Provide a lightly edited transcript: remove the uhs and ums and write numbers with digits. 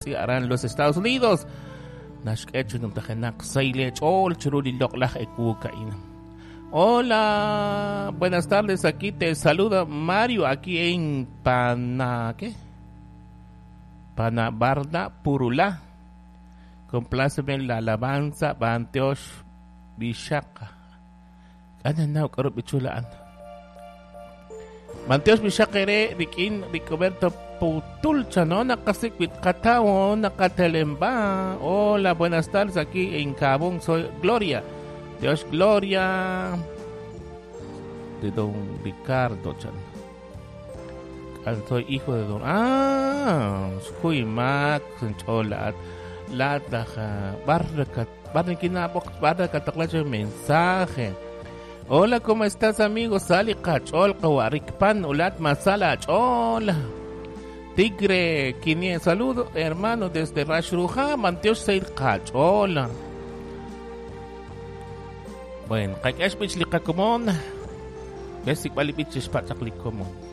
Aran los Estados Unidos. Naxk'e chi numtajenaq sahil eech'ool chiru li loq'laj ewu a'in. Hola, buenas tardes, aquí te saluda Mario, aquí en Pana, ¿qué? Panabarda, Purulá. Compláceme la alabanza, Banteosh, Bishaka. Ano na, karup ichulaan. Banteosh Bishaka ere, rikin, Ricoberto Putulcha, ¿no? Nakasikwit katao, nakatelemba. Hola, buenas tardes, aquí en Cabón, soy Gloria. Dios Gloria de don Ricardo Chan. Soy hijo de don. Ah, huy mak cholat la barra barra mensaje. Hola, ¿cómo estás, amigo? Sali kachol kawarikpan ulat masala chol. Tigre 500 saludo, hermano, desde Rashruja, Manteos Seir kachola. Bueno, kay bich li kakumon. Besik bali bich spachak li komon.